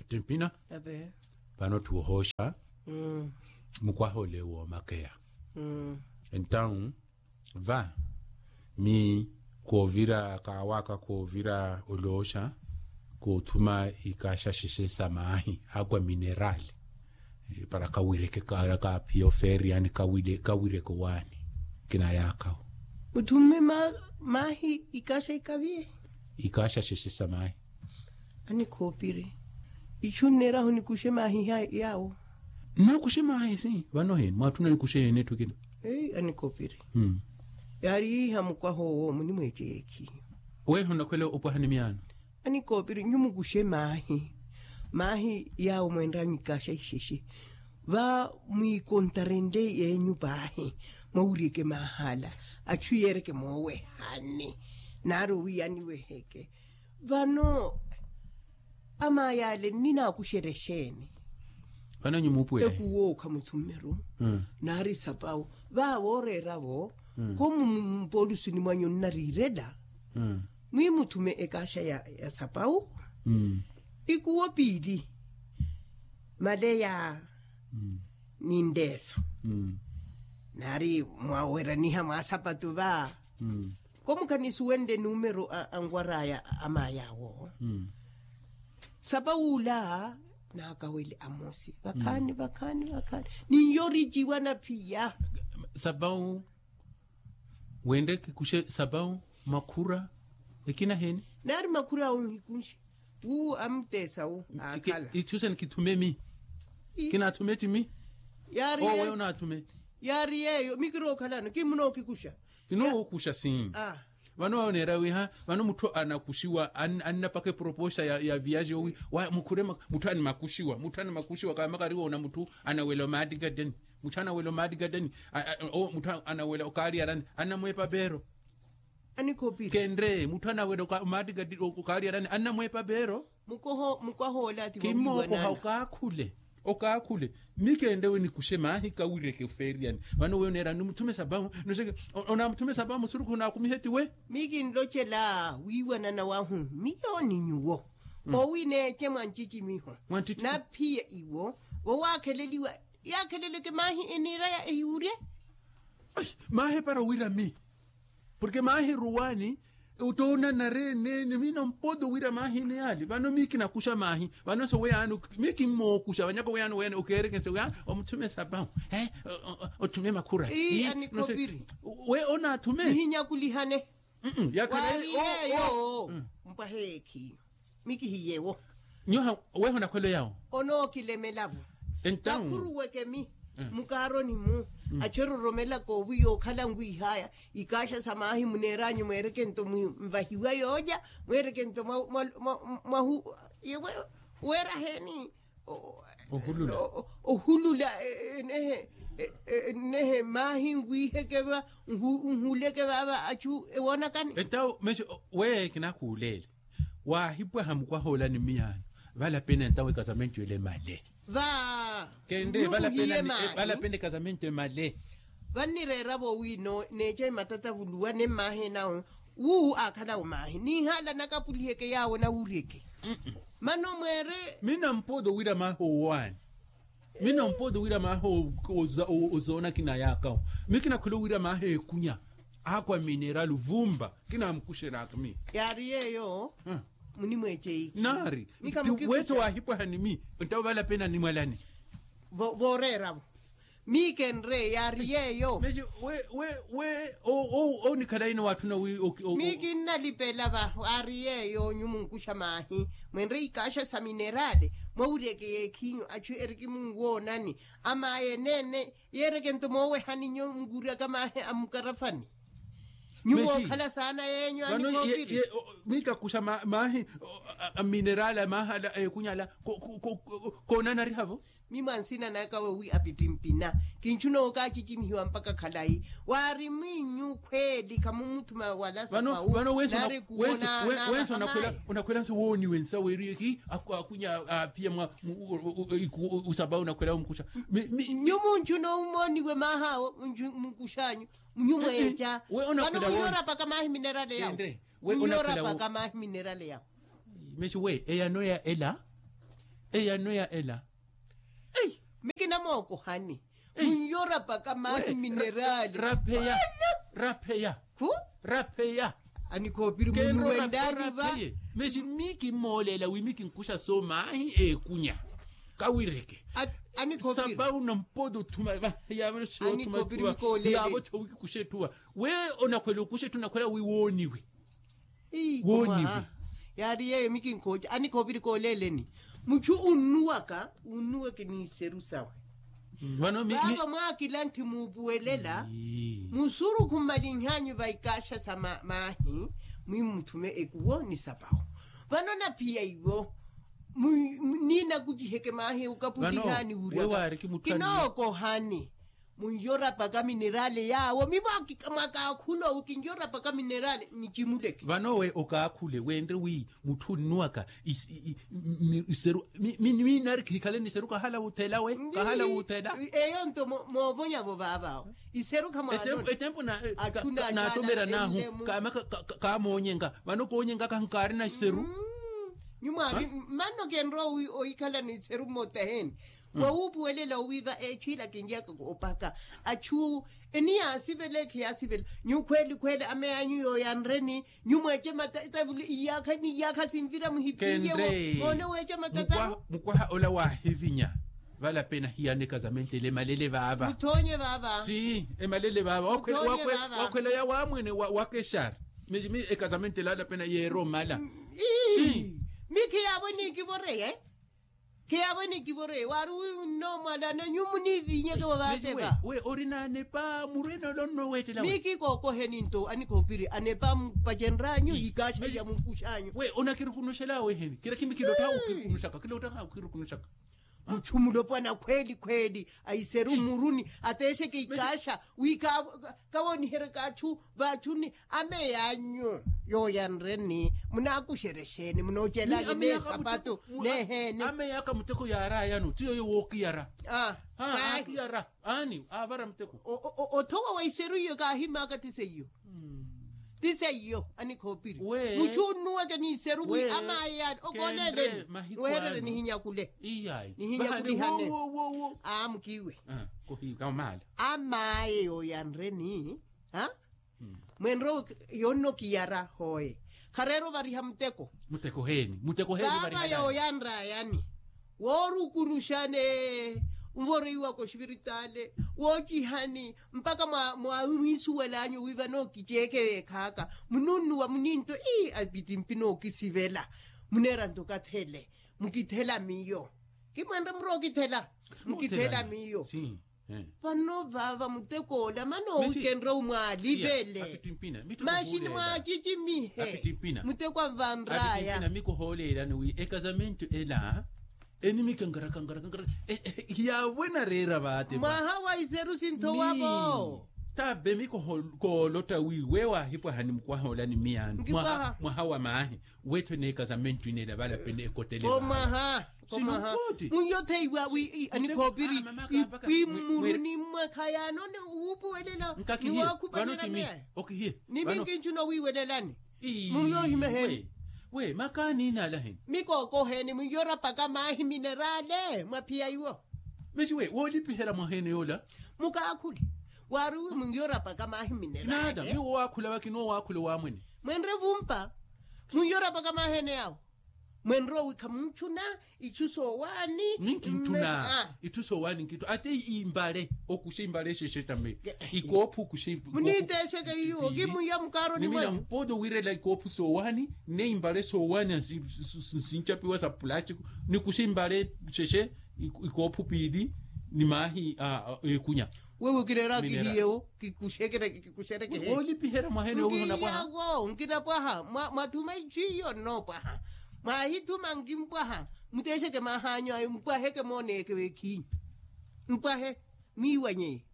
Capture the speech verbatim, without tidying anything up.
Timpina. Vano tthi ohosha mukwaha ole woomakeya. Entawu va mi koovira kaawaka koovira olooxa koothuma ikaxaxexe sa maahi akwa mineral para kawireke kaaphiya ofeeriyani kawireke owaani. Kinayaakawo. Muthumme maahi ikaxa ikaviye. Ikaxaxexe sa maahi. Anikhoopiri ichu nneerahu nikuxe maahi yaawo. Nnakuxe maahi si vano heni mwaatthuna nikuxe heni etthu ekina. Anikhoopiri yaari yiiha mukwaha owo munimweece yeekhi. Weeha onakhwela opwaha ni miyaano. Anikoopiri nyumukuxe maahi. Maahi yaawo mwenranyu ikaxa ixexe va mwiikontarenle yeenyu paahi. Mwawuryeke maahala achu yeereke moowehani naari owiya aniweheke vano. Amaayale nninaakuxerya exeeni? Vano nyumuupuwela ekuwookha muthummeru naari sapawu va vooreera-vo komu mupoolusuni mwanyu nnariirela mwiimuthume ekaaxa ya sapawu ikuwo piili maleya ni ndeeso naari mwaweraniha mwaasapatu va komukhanisuwenle numero anwar'aya amaay'awo sapawula naakawele amosi vakhaani vakhaani vakhaani ninyoriciwa naphiya. Sapawu wenre kikuxe sapawu makhura ekina heni? Naari makhura awo nhikunxe wu amuteesa wu akhala ichusa nikithume mi kinaathume ti mi. Yaari owe onaathume yaari yeeyo mi kirookhalano kimunookikuxa. Kinookuxa si vano wawo neera wiha vano mutthu anakuxiwa annapaka eproposa ya viyaji owi wa mukhure mutthu animakuxiwa mutthu animakuxiwa kamakari woona mutthu anawela omaattikateni mutthu anawela omaattikateni mutthu anawela okaariyarani annamweepa peero. Kenre mutthu anawela omaattikateni okaariyarani annamweepa peero. Mukwaha ole ati kimookoha okaakhule okaakhule mi kenre we nikuxe maahi kawireke ofeeriyani vano we oneerani nimuthume sapamu noseke onamuthume sapamu osurukhu onaakumihe ti we. Mi kinlocela wiiwanana wahu miyo ni nyuwo owi neece mwancicimiho naphiya iwo vowaakheleliwa yaakheleleke maahi eniiraya ehiwurye. Maahi para owira mi porke maahi ruwani otoona nareene ni mi nampodo wira maahi neyaali vano mi kinakuxa maahi vano se weyaani mi kimmookuxa vanyaka weyaani weyaani okeereke nse weyaani omuthume sapamu othume makhura. Ii anikopiri we onaathume nihinyakulihane. Yakhala waari yeeyo mpwaha eekhiyo mi kihiyewo. Nyoha weho nakhwelo yawo onookilemela-vo. Kakhuruweke mi mukaaroni-mu achu eroromela koowi yookhala nwiihaya ikaaxa sa maahi muneeranyu mweereke nto mvahiwa yoolya mweereke nto mwahu yewe weera heeni ohulula enehe enehe maahi nwiiheke va nhuleke vaava achu ewoonakani. Entawo mexe weeye kinakuuleele waahipwaha mukwaha ola ni miyaano valapena entawo ekasamentu ele male va kenre valapena ekasamentu emale. Vannireera-vo wi neeca ematatavuluwa nemmaaha enawo wu aakhalawo maahi niihaala nakapuliheke yaawo nawuryeke. Mano mweere mi nampooto wira maaha owaani mi nampooto wira maaha ozoona kinayaakawo mi kinakhwela owira maaha ekunya akwa mineral vumba kinaamukuxeraka mi. Yaari yeeyo munimweece ihi naari weeto waahipwaha ni mi ntawo valapena nimwalane. Vooreera-vo mi kenre yaari yeeyo. Mexi we we we onikhala ina waatthuna wi mi kinnalipela va waari yeeyo nyumunkuxa maahi mwenre ikaaxa sa minerale mwawuryeke yeekhinyu achu eriki munwoonani amaaye eneene yeereke nto moowehani nyo nkuryaka maahi a mukarafani. Nyumookhala saana yeenyu anikoopiri. Mikakuxa maahi a minerale a maahala a ekunya ala koonanariha-vo. Mi mwa nsina naka wowi apittimpina kinchuna okaacicimihiwa mpakha khalayi waari mwiinyu khweeli khamumuthuma wala sapawu naari kuwona. Wensa onakhwela nse wooniwe nsa weeriwe ki akunya aaphiya mwa usapawu onakhwela omukuxa. Nyumunchuna omooniwe maahaawo mukuxanyu nyumweeca vano wiiyorapaka maahi minerale yawo. Wiiyorapaka maahi minerale yawo. Mexi we eyano ya ela. Eyano ya ela. Ei. Mikina mookohani. Munyorapaka mahi minerali. Rapheya. Rapheya. Khu. Rapheya. Anikhoopiri munu wendani va. Mexi mi kimmoolela wi mi kinkuxa so mahi ekunya. Kawireke. Anikhoopiri. Sapa unampodo thuma va. Yavero sio thuma. Anikhoopiri mikoolele. Yavo thowi kikuxe thuwa. We onakhwela okuxa ethu onakhwela wi wooniwe. Wooniwe. Yaari yeeyo mikinkhooca anikhoopiri kooleeleni. Muchu unnuwaka unnuweke n'iseru sawe. Vano mi- mi- vava mwaakilanthi muupuwelela. Musurukhu mmalinhanyu va ikaaxa sa maahi. Mwi muthume ekuwo ni sapawo. Vano naphiya iwo. Niinakuciheke maahi ukaputihani wuraka. Kinookohani. Munyorapaka minerale yaawo mi mwakaakhula owi kinyorapaka minerale. Nicimuleke vano we okaakhule wenre wi mutthu onnuwaka. Iseru. Minari khikhale n'iseru kahala wuthela we kahala wuthela. Eyo nto moovonyavo vaavaawo iseru khamwano. Etempo na naatomera naahu kaama kaamoonyenga vano koonyenga kahu kaarina iseru. Nyumwaari manno kenrowa ohikhala n'iseru mmottaheni. Wawuupuwelela owiiva echu ila kinjaka opaka achu eni yaasivela ekhi yaasivela. Nyu khweeli khweeli ameya anyu yooyanreni. Nyu mweece matavulu iyaakha ni iyaakha sinvira muhipiyewo. Moone weece matataru. Mukwaha ola waahivinya. Vala pena hiyaneka zamentele emalele vaava. Muthoonye vaava. Si emalele vaava. Wakhwela ya waamwene wakeshari. Mixi mi ekazamentele ala pena yeera omala. Si mi khiyaavo nikivoreye. Khiyaavo nikivoreye waari wi nnoomwalana nyu munivinyeke vavaateva. We ori n'anepa murwene ole onnoweettela we. Mi kikookoheni nto anikhoopiri anepa mpacenr'anyu ikaaxa iya mumpux'anyu. We onakirukunuxela weheni kira khimi kilottaha okhirukunuxaka kilottaha okhirukunuxaka. Muchu mulopwana khweeli khweeli aiseru mmuruni ateexeke ikaaxa wi kawooniheryaka achu vachuni. Ameya anyu yooyanreni munaakuxerya exeeni munoocelanyu n'esapato n'eheeni. Ameya aka muteko yaarayano ti yoyo wookiyara. Aakiyara aani aavara muteko. Othowa wa iseru iyo kaahimaaka ti seiyo. Ti seiyo anikhoopiri muchu unnuweke n'iseru wi amaye yaani okooleleni. Niwehererye nihinyakule nihinyakulihane. Aa mukiiwe. Amaye yooyanreni. Mwenre yoonno kiyara hooye khareera ovariha muteko. Muteko heeni muteko heeni. Vaava yooyanrayani woorukunuxane nvoriwaka oxiviritaale woocihani mpakha mwaamwiisuwelanyu wi vano kiceeke weekhaaka. Mununnuwa muninto ii apiti mpi nookisivela muneera nto kathele. Mukithela miyo kimwenre murookithela mukithela miyo. Vano vaava mutek'ola mano owikenre omwaalivele. Masi nimwaacicimihe muteko anvanraya. Mikohooleelani wi ekazamentu ela enimika ngaraka ngaraka ngaraka. Hiyaavo enareera vaate mwaha wa iseru sinthowavo. Tabe mikohoolotta wi we waahipwaha ni mukwaha ola ni miyaani mwaha wa maahi. Wetthu eneekazamentu ineela valapene ekotele vaava. Komaha komaha. Munyotheiwa wi anikhoopiri ipwi mmuruni mmwekhayaano ni wuupuwelela ni waakhupanyela meya. Ni minkinchu noowiiwelelani. Munyohimeheni. We makaani inaalaheni. Mikookoheni munyorapaka maahi minerale mwaphiya iwo. Mexi we woolipiherya mwaheene yoola. Mukaakhule waari wi munyorapaka maahi minerale. Nada miwo waakhula vakina owaakhula owaamwene. Mwenre vumpa munyorapaka maahi ene yaawo. Mwenre owi khamunchuna ichu soowaani. Minkinchuna ichu soowaani nkinchuna ate imbale okuxa imbale exexe tambe. Ikoophu okuxa muniteexeke iyo okimuya mukaaroni mwanyu. Mpoodo wiirela ikoophu soowaani ne imbale soowaani nsinchapiwa sa pulastiku. Nikuxa imbale exexe ikoophu piili ni maahi ekunya. Wewe okireera kihiyewo kikuxekerekehe. Woolipiherya mwaheene owiho napwaha. Nkinapwaha mwathuma ichu iyo nnoopwaha. Mwaahithuma nkimpwaha muteexeke maahanyu ayo mpwaheke mooneyeke veekhinyu. Mpwahe mwiiwanyeye.